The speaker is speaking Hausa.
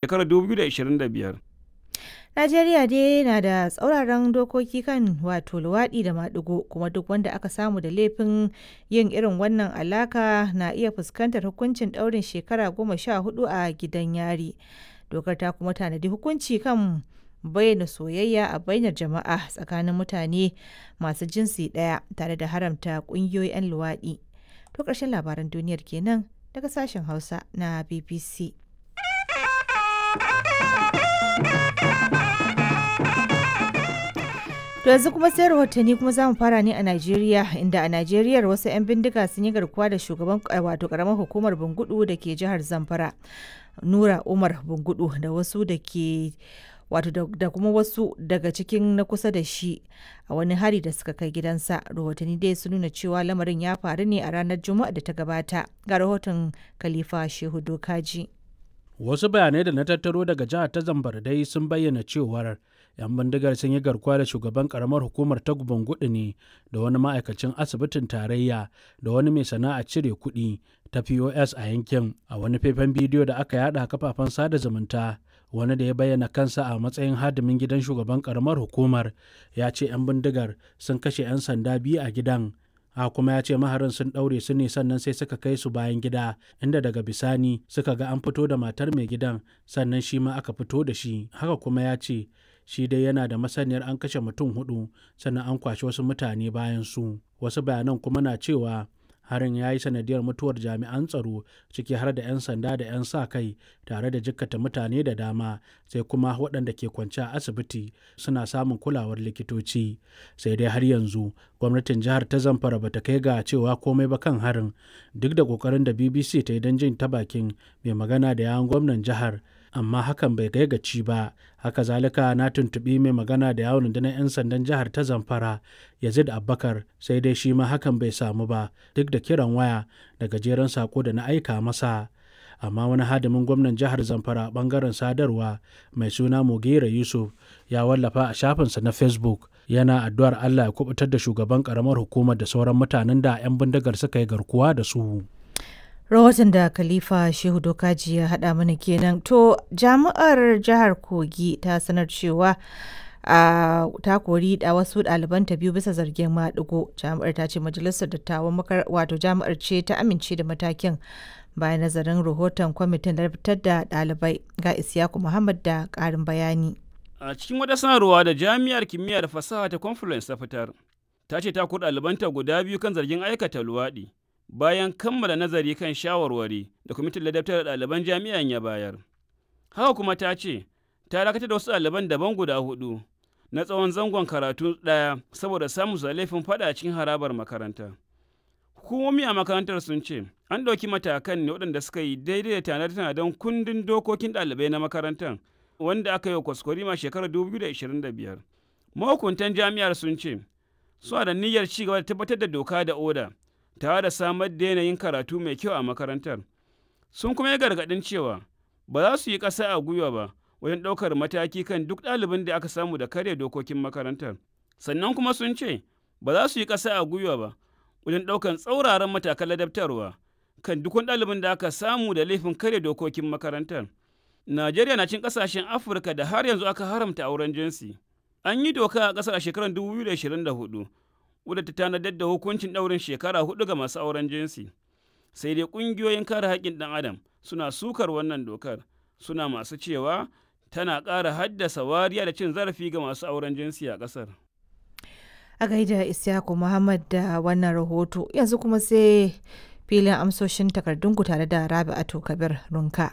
Shekarar 2025. Najeriya dai na da tsauraran dokoki kan wato luwaɗi da maɗigo, kuma duk wanda aka samu da laifin yin irin wannan alaka na iya fuskantar hukuncin ɗaurin shekara 14 a gidan yari. Dokar ta kuma tanadi hukunci kan bayyana soyayya a bainar jama'a tsakanin mutane masu jinsi ɗaya tare da haramta ƙungiyoyin 'yan luwaɗi. To ƙarshen labaran duniyar kenan daga sashen Hausa na BBC. To yanzu kuma sai rahotanni kuma za mu fara ne a Najeriya, inda a Najeriya wasu 'yan bindiga sun yi garkuwa da shugaban wato karamar hukumar Bungudu da ke jihar Zamfara, Nura Umar Bungudu, da wasu da ke wato da kuma wasu daga cikin na kusa da shi a wani hari da suka kai gidansa. Rahotanni dai sun nuna cewa lamarin ya faru ne a ranar Juma'a da ta gabata. Ga rahoton Khalifa Shehu Dokaji. Wasu bayanai da na tattaro daga jihar ta Zamfara dai sun bayyana cewar 'yan bindigar sun yi garkuwa da shugaban karamar hukumar ta Bungudu ne da wani ma'aikacin asibitin tarayya da wani mai sana'a cire kuɗi ta POS a yankin. A wani faifan bidiyo da aka yada a kafafen sada zumunta, wani da ya bayyana kansa a matsayin hadimin gidan shugaban karamar hukumar ya ce 'yan bindigar sun kashe 'yan sanda biyu a gidan. A kuma ya ce maharin sun ɗaure su ne, sannan sai suka kai su bayan gida, inda daga bisani suka ga an fito da matar mai gidan, sannan shi ma aka fito da shi. Haka kuma ya ce shi dai yana da masaniyar an kashe mutum hudu, sannan an kwashe wasu mutane bayan su. Wasu bayanan kuma na cewa harin ya yi sanadiyar mutuwar jami'an tsaro, ciki har da 'yan sanda da 'yan sa kai, tare da jikkata mutane da dama, sai kuma waɗanda ke kwance a asibiti suna samun kulawar likitoci. Sai dai har yanzu gwamnatin jihar ta Zamfara ba ta kai ga cewa komai ba kan harin, duk da kokarin da BBC ta yi don jin ta bakin mai magana da yawun gwamnan jihar, amma hakan bai kai gaci ba. Haka zalika na tuntuɓi mai magana da yawon rundunar 'yan sandan jihar ta Zamfara, Yazid Abubakar, sai dai shi ma hakan bai samu ba, duk da kiran waya da gajeren sako da na aika masa. Amma wani hadimin gwamnan jihar Zamfara bangaren sadarwa mai suna Mugera Yusuf ya wallafa a shafinsa na Facebook yana addu'ar Allah ya kubutar da shugaban karamar hukumar da sauran mutanen da 'yan bindigar suka yi garkuwa da su. Rahoton da Khalifa Shehu Dokaji ya haɗa mana kenan. To, jami'ar jihar Kogi ta sanar cewa a ta kori da wasu ɗalibanta biyu bisa zargin maɗigo. Jami'ar ta ce majalisar dattawan wato jami'ar ce ta amince da matakin bayan nazarin rahoton kwamitin da fitar da ɗalibai. Ga Isiyaku Muhammad da ƙarin bayani. A cikin wata sanarwa da Jami'ar Kimiyya da Fasaha ta Confluence ta fitar, ta ce ta kori ɗalibanta guda biyu kan zargin aikata luwaɗi, bayan kammala nazari kan shawarwari da kwamitin ladabtar da ɗaliban jami'an ya bayar. Haka kuma ta ce, ta dakatar da wasu ɗaliban daban guda hudu na tsawon zangon karatu ɗaya saboda samun su da laifin faɗa cikin harabar makaranta. Hukumomi a makarantar sun ce, an ɗauki matakan ne waɗanda suka yi daidai da tanade-tanaden kundin dokokin ɗalibai na makarantar wanda aka yi wa kwaskwarima shekarar 2025. Mahukuntan jami'ar sun ce, suna da niyyar ci gaba da tabbatar da doka da oda, tare da samar da yanayin karatu mai kyau a makarantar. Sun kuma yi gargaɗin cewa ba za su yi ƙasa a gwiwa ba wajen ɗaukar mataki kan duk ɗalibin da aka samu da karya dokokin makarantar. Sannan kuma sun ce ba za su yi ƙasa a gwiwa ba wajen ɗaukar tsauraran matakan ladabtarwa kan duk wani ɗalibin da aka samu da laifin karya dokokin makarantar. Najeriya na cin ƙasashen Afirka da har yanzu aka haramta auren jinsi. An yi doka a ƙasar a shekarar 2024 wadda ta tanadar da hukuncin ɗaurin shekara 4 ga masu auren jinsi. Sai dai ƙungiyoyin kare haƙƙin ɗan adam suna sukar wannan dokar, suna masu cewa tana ƙara haddasa wariya da cin zarafi ga masu auren jinsi a ƙasar. A gaida Isyaku Muhammad da wannan rahoto. Yanzu kuma sai filin amsoshin takardunku tare da Rabi'atu Kabir Runka.